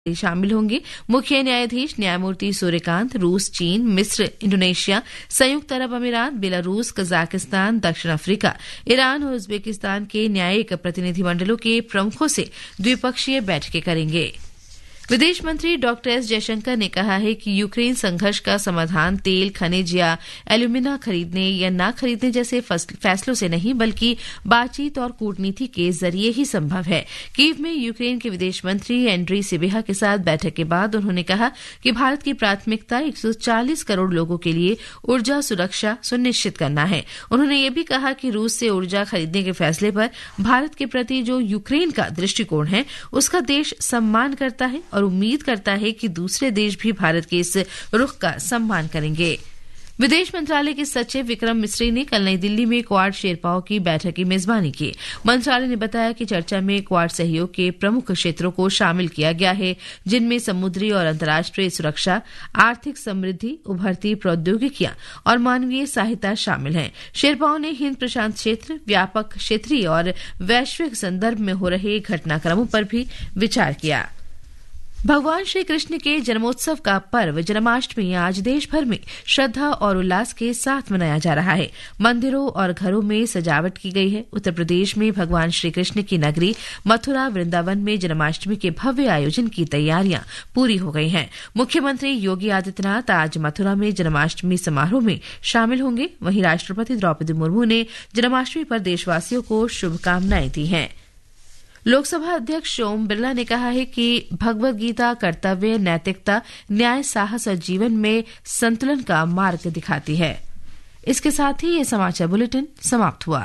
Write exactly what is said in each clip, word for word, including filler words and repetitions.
शामिल होंगे। मुख्य न्यायाधीश न्यायमूर्ति सूर्यकांत रूस, चीन, मिस्र, इंडोनेशिया, संयुक्त अरब अमीरात, बेलारूस, कजाकिस्तान, दक्षिण अफ्रीका, ईरान और उज्बेकिस्तान के न्यायिक प्रतिनिधिमंडलों के प्रमुखों से द्विपक्षीय बैठकें करेंगे। विदेश मंत्री डॉक्टर एस जयशंकर ने कहा है कि यूक्रेन संघर्ष का समाधान तेल, खनिज या एल्यूमिना खरीदने या ना खरीदने जैसे फस-, फैसलों से नहीं, बल्कि बातचीत और कूटनीति के जरिए ही संभव है। कीव में यूक्रेन के विदेश मंत्री एंड्री सिबिहा के साथ बैठक के बाद उन्होंने कहा कि भारत की प्राथमिकता एक सौ चालीस करोड़ लोगों के लिए ऊर्जा सुरक्षा सुनिश्चित करना है। उन्होंने ये भी कहा कि रूस से ऊर्जा खरीदने के फैसले पर भारत के प्रति जो यूक्रेन का दृष्टिकोण है, उसका देश सम्मान करता है और उम्मीद करता है कि दूसरे देश भी भारत के इस रुख का सम्मान करेंगे। विदेश मंत्रालय के सचिव विक्रम मिस्री ने कल नई दिल्ली में क्वाड शेरपाओं की बैठक की मेजबानी की। मंत्रालय ने बताया कि चर्चा में क्वाड सहयोग के प्रमुख क्षेत्रों को शामिल किया गया है, जिनमें समुद्री और अंतर्राष्ट्रीय सुरक्षा, आर्थिक समृद्धि, उभरती प्रौद्योगिकियां और मानवीय सहायता शामिल हैं। शेरपाओं ने हिंद प्रशांत क्षेत्र, व्यापक क्षेत्रीय और वैश्विक संदर्भ में हो रहे घटनाक्रमों पर भी विचार किया। भगवान श्री कृष्ण के जन्मोत्सव का पर्व जन्माष्टमी आज देश भर में श्रद्धा और उल्लास के साथ मनाया जा रहा है। मंदिरों और घरों में सजावट की गई है। उत्तर प्रदेश में भगवान श्री कृष्ण की नगरी मथुरा वृंदावन में जन्माष्टमी के भव्य आयोजन की तैयारियां पूरी हो गई हैं। मुख्यमंत्री योगी आदित्यनाथ आज मथुरा में जन्माष्टमी समारोह में शामिल होंगे। वहीं राष्ट्रपति द्रौपदी मुर्मू ने जन्माष्टमी पर देशवासियों को शुभकामनाएं दी हैं। लोकसभा अध्यक्ष ओम बिरला ने कहा है कि भगवत गीता कर्तव्य, नैतिकता, न्याय, साहस और जीवन में संतुलन का मार्ग दिखाती है। इसके साथ ही ये समाचार बुलेटिन समाप्त हुआ।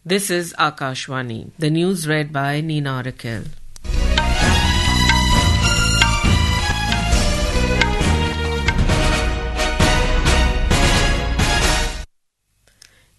This is Akashvani. The news read by Nina Raquel.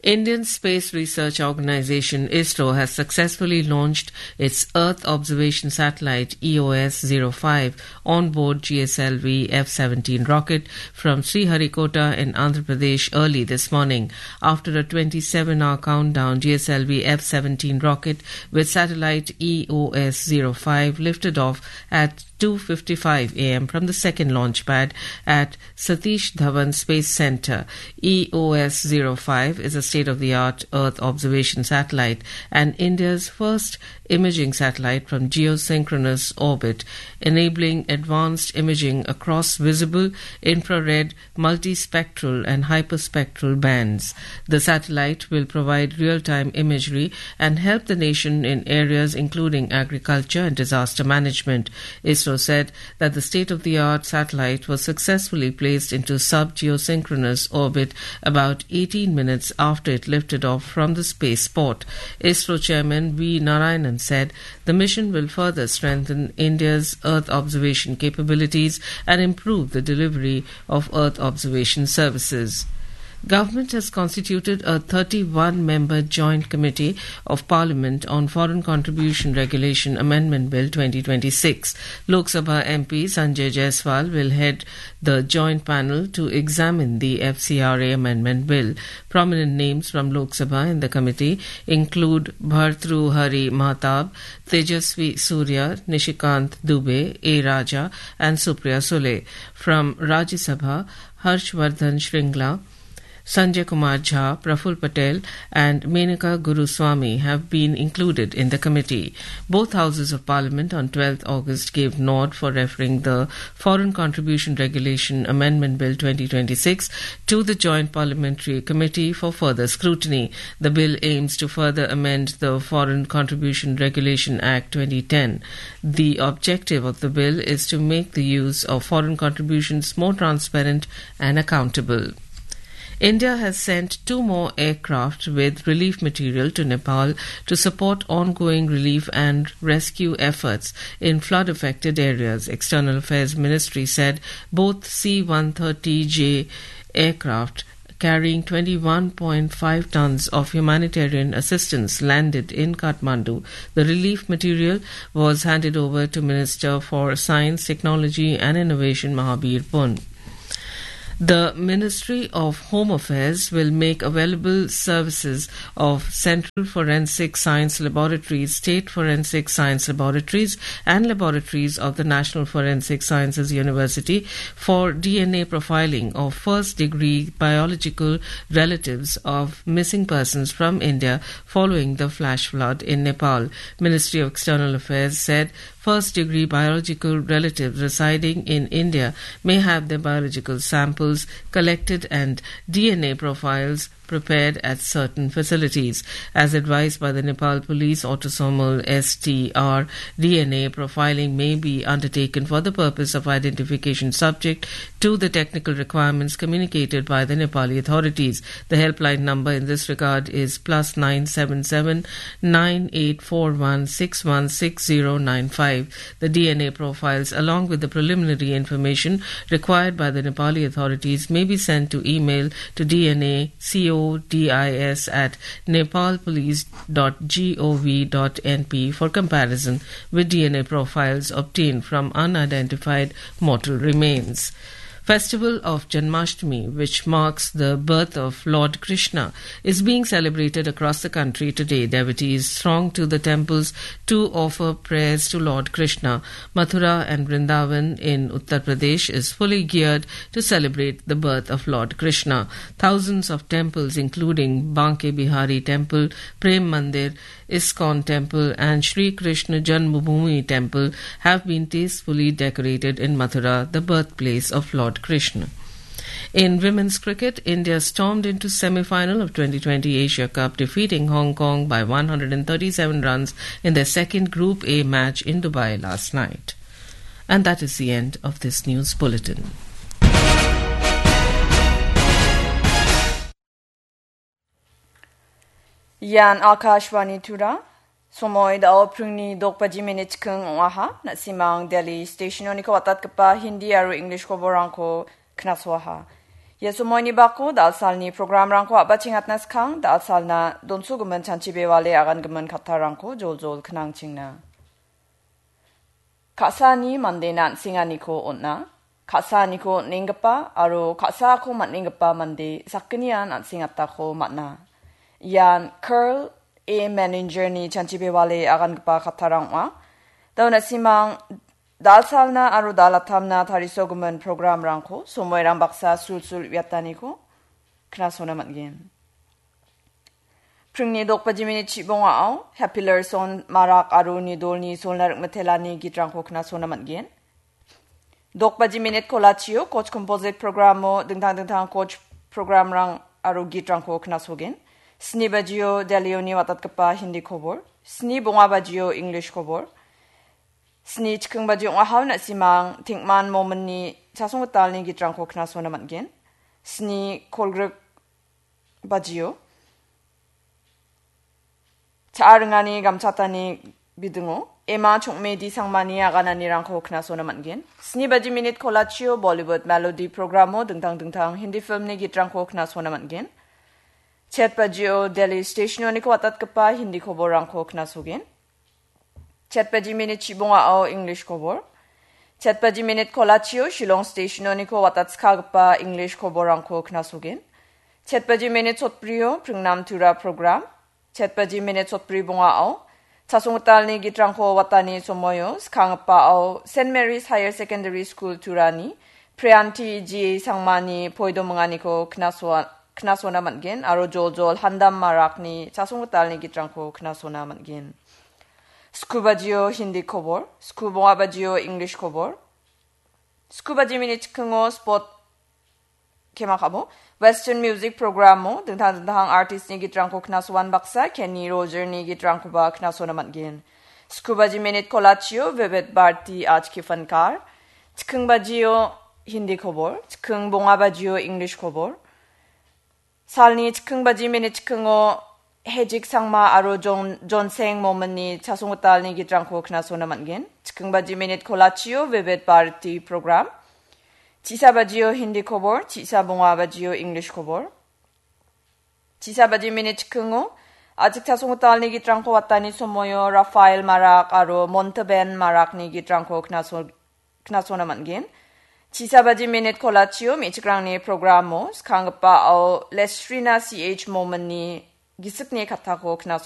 Indian Space Research Organisation, ISRO, has successfully launched its Earth Observation Satellite, E O S zero five, on board G S L V F seventeen rocket from Sriharikota in Andhra Pradesh early this morning. After a twenty-seven hour countdown, G S L V F seventeen rocket with satellite E O S zero five lifted off at two fifty-five A M from the second launch pad at Satish Dhawan Space Centre. E O S zero five is a state-of-the-art Earth observation satellite and India's first imaging satellite from geosynchronous orbit, enabling advanced imaging across visible, infrared, multispectral and hyperspectral bands. The satellite will provide real-time imagery and help the nation in areas including agriculture and disaster management. ISRO said that the state-of-the-art satellite was successfully placed into sub-geosynchronous orbit about eighteen minutes after it lifted off from the spaceport. ISRO chairman V Narayanan said the mission will further strengthen India's Earth observation capabilities and improve the delivery of Earth observation services. Government has constituted a thirty-one member Joint Committee of Parliament on Foreign Contribution Regulation Amendment Bill twenty twenty-six. Lok Sabha M P Sanjay Jaiswal will head the joint panel to examine the F C R A Amendment Bill. Prominent names from Lok Sabha in the committee include Bhartruhari Mahtab, Tejaswi Surya, Nishikant Dubey, A Raja, and Supriya Sule. From Rajya Sabha, Harshvardhan Shringla, Sanjay Kumar Jha, Praful Patel, and Menaka Guruswamy have been included in the committee. Both houses of Parliament on twelfth August gave nod for referring the Foreign Contribution Regulation Amendment Bill twenty twenty-six to the Joint Parliamentary Committee for further scrutiny. The bill aims to further amend the Foreign Contribution Regulation Act twenty ten. The objective of the bill is to make the use of foreign contributions more transparent and accountable. India has sent two more aircraft with relief material to Nepal to support ongoing relief and rescue efforts in flood-affected areas. External Affairs Ministry said both C one thirty J aircraft carrying twenty-one point five tons of humanitarian assistance landed in Kathmandu. The relief material was handed over to Minister for Science, Technology and Innovation Mahabir Pun. The Ministry of Home Affairs will make available services of Central Forensic Science Laboratories, State Forensic Science Laboratories, and laboratories of the National Forensic Sciences University for D N A profiling of first-degree biological relatives of missing persons from India following the flash flood in Nepal. Ministry of External Affairs said first-degree biological relatives residing in India may have their biological samples collected and D N A profiles prepared at certain facilities. As advised by the Nepal Police, autosomal S T R D N A profiling may be undertaken for the purpose of identification subject to the technical requirements communicated by the Nepali authorities. The helpline number in this regard is plus nine seven seven nine eight four one six one six zero nine five. The D N A profiles, along with the preliminary information required by the Nepali authorities, may be sent to email to D N A codis at nepalpolice dot gov dot N P for comparison with D N A profiles obtained from unidentified mortal remains. Festival of Janmashtami, which marks the birth of Lord Krishna, is being celebrated across the country today. Devotees throng to the temples to offer prayers to Lord Krishna. Mathura and Vrindavan in Uttar Pradesh is fully geared to celebrate the birth of Lord Krishna. Thousands of temples, including Banke Bihari Temple, Prem Mandir, ISKCON Temple and Shri Krishna Janmabhoomi Temple, have been tastefully decorated in Mathura, the birthplace of Lord Krishna. In women's cricket, India stormed into semi-final of twenty twenty Asia Cup, defeating Hong Kong by one hundred and thirty-seven runs in their second Group A match in Dubai last night. And that is the end of this news bulletin. Ian Akashvani Tura. Somoi dao pringni dok baji minit keng oaha, nasimang Delhi stationoniko atatgipa Hindi aro English koborangko knasoaha. Ia somoini bako dalsalni programrangko abachingatna skang, dalsalna donsugimin chanchi bewale agangimin kattarangko joljol knangchingna. Ka·sani mandena an·senganiko on·a. Ka·saniko on·enggipa aro ka·sako man·enggipa mande sakgnian an·sengatako man·a. Ian Curl A Menningerni chanchi bewale agangipa kattarang ong·a. Dao nasimang dalsalna aro dalatamna tarisogimin programrangko somoirang baksa sulsul uiataniko knasona man·gen. Pringni dok baji minit chibongao, Happy Larson, Marak aro Nidolni solna rik·mitelani gitrangko knasona man·gen. Dok baji minit kolachio, Coach Composite programo dingtang dingtang coach programrang aro gitrangko knasogen. Sni bajio Delioni watatgipa Hindi kobor. Sni bonga bajio English kobor. Sni chikking baji ong·ahao na·simang Tingman Mominni chasonggitalni gitrangko knasona man·gen. Sni kolgrik bajio cha·a ringani gamchatani bidingo Ema Chongmedi Sangmani agananirangko knasona man·gen. Sni baji minit kolachio Bollywood Melody programo dingtang dingtang Hindi filmni gitrangko knasona man·gen. Chet bajio Delhi stationoniko watatgipa Hindi koborrangko knasogen. Chet baji minit chibongao English kobor. Chet baji minit kolachio Shillong stationoniko watatskagipa English koborrangko knasogen. Chet baji minit sotbrio Pringnam Tura program. Chet baji minit sotbri bongao chasonggitalni gitrangko watani somoio skanggipao Saint Mary's Higher Secondary School Turani Priyanti G A Sangmani poidominganiko knasoa-, knasona man·gen aro joljol Handam Marakni chasonggitalni gitrangko knasona man·gen. Sku bajio Hindi kobor, sku bonga bajio English kobor. Sku baji minit chikingo sport kema kabo. Western music programo dingtang dingtang artistni gitrangko knasoan baksa Kenny Rogerni gitrangkoba knasona man·gen. Sku baji minit kolachio Vivid Bharati Aaj Ki Fankar. Chiking bajio Hindi kobor, chiking bonga bajio English kobor. Salni chiking baji minit chikingo Hejik Sangma aro Jon-, Jonseng Mominni chasonggitalni gitrangko knasona man·gen. Chiking baji minit kolachio Vivid Bharati program. Chisa bajio Hindi kobor, chisa bonga bajio English kobor. Chisa baji minit chikingo a·chik chasonggitalni gitrangko watani somoio Rafael Marak aro Montaben Marakni gitrangko knaso-, knasona man·gen. Chisabaji minit kolachio me·chikrangni programo skanggipao Lestrina C H Mominni gisikni kattako knaso